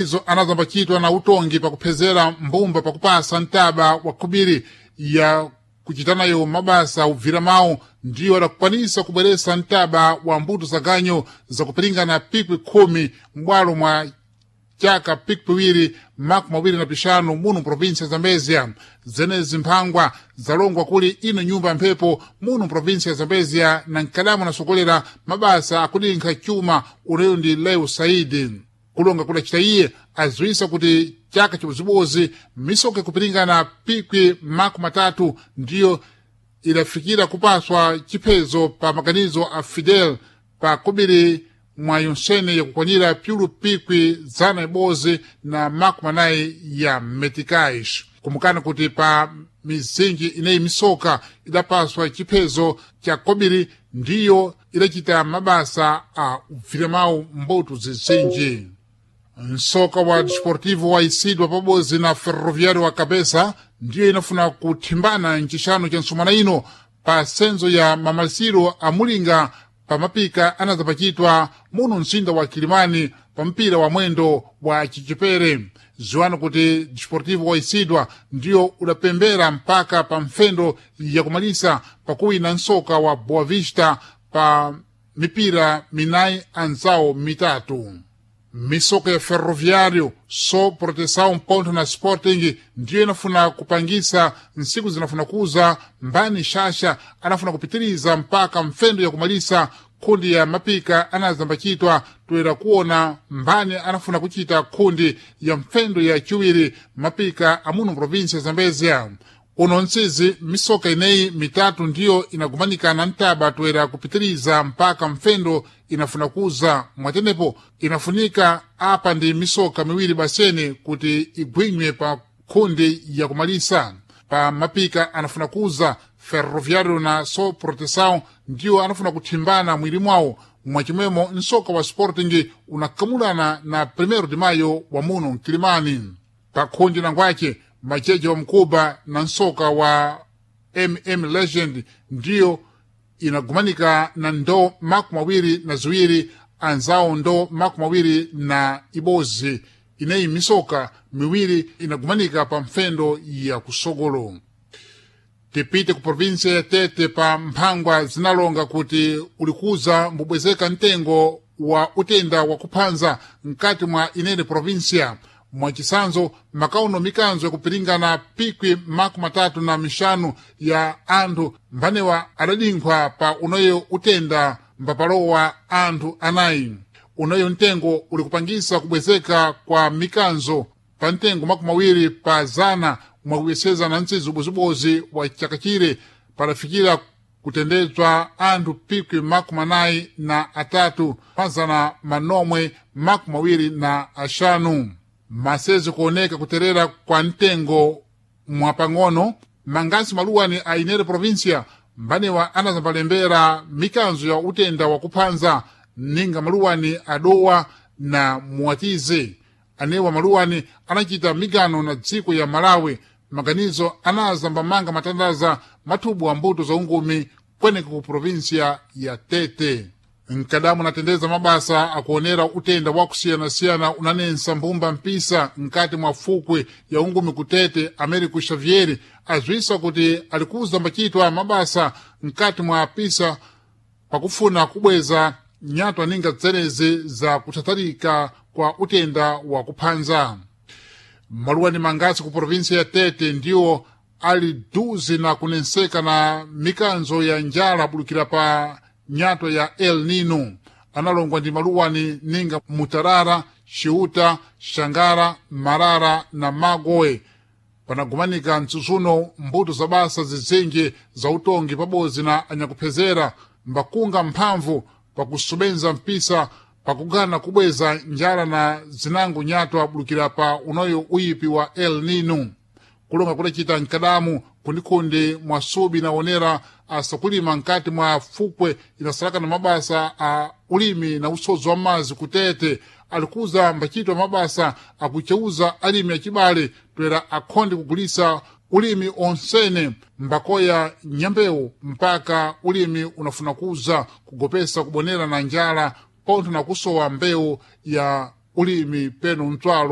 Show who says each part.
Speaker 1: Izo anazambachitwa na utongi pakuphezera mbumba pakupasa mtaba wa khubiri ya kuchitanayo mabasa ubvira mawu ndiyo adakukwanisa kubweresa mtaba wa mbuto za ganyo zakupiringana pikwi 10 m'bwalo mwa chaka pikwi 25 muno província ya Zambezia. Zenezi mphangwa zalongwa kuli ino nyumba ya mphepo muno província ya Zambezia na mkadamu anasokolera mabasa akudinkha chuma uneyo ndi Leo Saidi. Kulonga kudacita iye aziwisa kuti chaka chibozibozi misoka ikupiringana pikwi 30 ndiyo idafikira kupaswa chiphezo pa maganizo a Fidel pa kubiri mwa yonsene yakukwanira pyulu pikwi 100 na 40 ya meticais. Kumukana kuti pa mizinji ineyi misoka idapaswa chiphezo cha kobiri ndiyo idacita mabasa a ubviramawu mbuto zizinji. Msoka wa Desportivo waisidwa pabodzi na Ferroviário wa Cabeça ndiyo inafuna kuthimbana mcixano ca nsumana ino pa senzo ya mamalisiro a mulinga pa mapika anazapachitwa muno mzinda wa Kilimani pa mpira wa mwendo wa chichepere. Ziwani kuti Desportivo waisidwa ndiyo udapembera mpaka pa mfendo yakumalisa pakuwina msoka wa Boa Vista pa mipira minayi anzawo mitatu. Misoka ya Ferroviário so Proteção Ponto na Sporting ndiyo inafuna kupangisa nsiku zinafuna kuza mbani shasha anafuna kupitiriza mpaka mfendo ya kumalisa kundi ya mapika anazambachitwa toera kuona mbani anafuna kuchita kundi ya mfendo ya chiwiri mapika amuno província ya Zambezia. Uno ntsizi misoka ineyi mitatu ndiyo inagumanikana ntaba toera kupitiriza mpaka mfendo inafuna kuza mwatenepo inafunika apa ndi misoka miwiri basene kuti igwinywe pa kundi yakumalisa. Pa mapika anafuna kuza Ferroviário na So Proteção ndiyo anafuna kuthimbana mwiri mwawo mwachimwemo msoka wa Sporting unakamulana na 1 de Mayo wa muno mkilimani. Pa kundi nangwace macheche wa mkuba na msoka wa MM Legend ndiyo inagumanika na ndo 22 anzawo ndo 21 ineyi misoka miwiri inagumanika pa mfendo ya kusogolo. Tipite ku província ya Tete pa mphangwa zinalonga kuti ulikuza mbubwezeka mtengo wa utenda wa kuphanza mkati mwa inene província. Mwachisanzo makauno mikanzo yakupiringana pikwi 35 ya anthu mbanewa adadinkhwa pa unoyo utenda mbapalowa anthu anayi. Unoyo mtengo ulikupangisa kubwezeka kwa mikanzo pa mtengo 20 pa zana mwakuyeseza na ntsizi ubozibozi wa chaka chire padafikira kutendedzwa anthu pikwi 43 pazana manomwe 25. Masezi kuoneka kuterera kwa mtengo mwapang'ono mangasi maluwani a inere província mbanewa anazambalembera mikanzo ya utenda wakuphanza ninga maluwani adowa na muwatize. Anewa maluwani anachita migano na dziko ya Malawi maganizo anazambamanga matandaza mathubu a mbuto za ungumi kweneka ku província ya Tete. Mkadamu natendeza mabasa akuonera utenda wakusiyanasiyana unanensa mbumba mpisa mkati mwa fukwe ya ungumi kutete Américo Xavier azwisa kuti alikuza mbachitwa mabasa mkati mwa pisa pakufuna kubweza nyatwa ninga dzenezi za kuthatharika kwa utenda wa kuphanza. Maluwani mangasi ku província ya Tete ndiwo ali duzi na kunenseka na mikanzo ya njala bulukira pa nyato ya El Nino analongwa ndi maluwani ninga Mutarara, Ciuta, Xangara, Marara na Magoe. Panagumanika mtsutsuno mbuto za basa zizinji za utongi pabodzi na anyakuphezera mbakunga mphamvu pakusubenza mpisa pakugana kubweza njala na zinango nyato abulukira pa unoyo uyipi wa El Nino. Kulonga kudacita mkadamu kundikundi mwa subi naonera asakulima nkati mwa fukwe inasalaka na mabasa a ulimi na usozi wa mazi kutete alikuza mbachitwa mabasa akucheuza alimi acibale toera akhonde kugulisa ulimi onsene mbakoya nyambewu mpaka ulimi unafuna kuza kugopesa kubonera na njala pontho na kusowa mbewu ya ulimi peno mtswalo.